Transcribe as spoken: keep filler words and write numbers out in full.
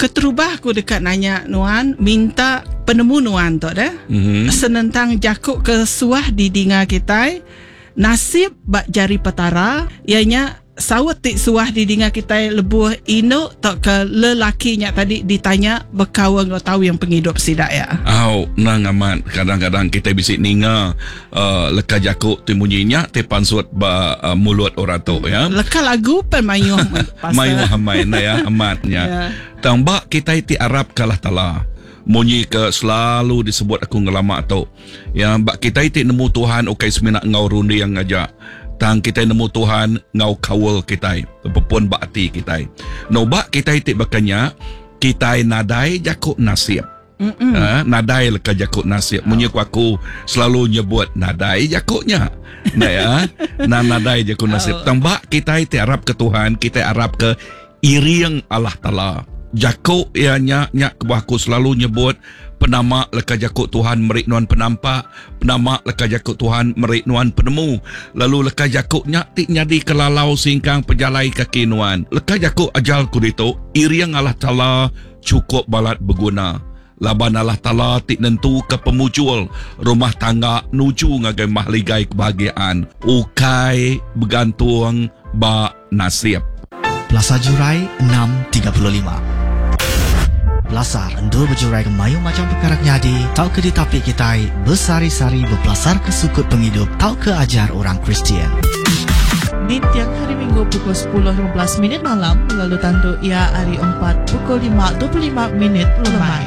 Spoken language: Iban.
Keterubah aku deka nanya nuan, minta penemu nuan tu deh. Mm-hmm. Senentang jaku ke suah didinga kitai, nasib ba jari Petara, ianya saut ti suah didinga kitai lebuh indu tau ke lelaki nya tadi ditanya bekaul enggau tawing pengidup sida ya. Au, nang amat kadang-kadang kita bisi ninga uh, leka jaku ti munyi nya ti pansut ba uh, mulut orang tu ya. Leka lagu pen mayuh pasal. Mayuh amai na ya amatnya. Ya. Tang ba kita ti arap ke Allah Taala. Munyi ke selalu disebut aku ngelama tu. Ya, ba kita ti nemu Tuhan ukai semina ngau runding aja. Tang kita nemu Tuhan ngau kaul kita, pepun ba ati kita. No ba kita ti bakanya kita nadai jaku nasib. Ha, nadai leka jaku nasib. Munyi ku aku selalu nyebut nadai jakunya. Nah ya, na nadai jaku nasib. Tang ba kita ti arap ke Tuhan, kita arap ke iring Allah Taala. Jaku ia nya nya kebuah aku selalu nyebut penama leka jaku Tuhan meri nuan penampak, penama leka jaku Tuhan meri nuan penemu. Lalu leka jaku nya ti nyadi kelalau singkang pejalai kaki nuan. Leka jaku ajal ku ditu, iring Allah Taala cukup balat berguna. Laban Allah Taala ti nentu ke pemujul rumah tangga nuju ngagai mahligai kebahagiaan. Ukai bergantung ba nasib. Pelasar Jurai enam tiga puluh lima. Pelasar endur berjurai ke mayu macam perkara nyadi tau ke ditapi kitai bersari-sari berpelasar ke sukut penghidup tau ke ajar orang Kristian. Di tiang hari Minggu pukul sepuluh lima belas minit malam lalu tentu ia hari empat pukul lima dua puluh lima minit lemai.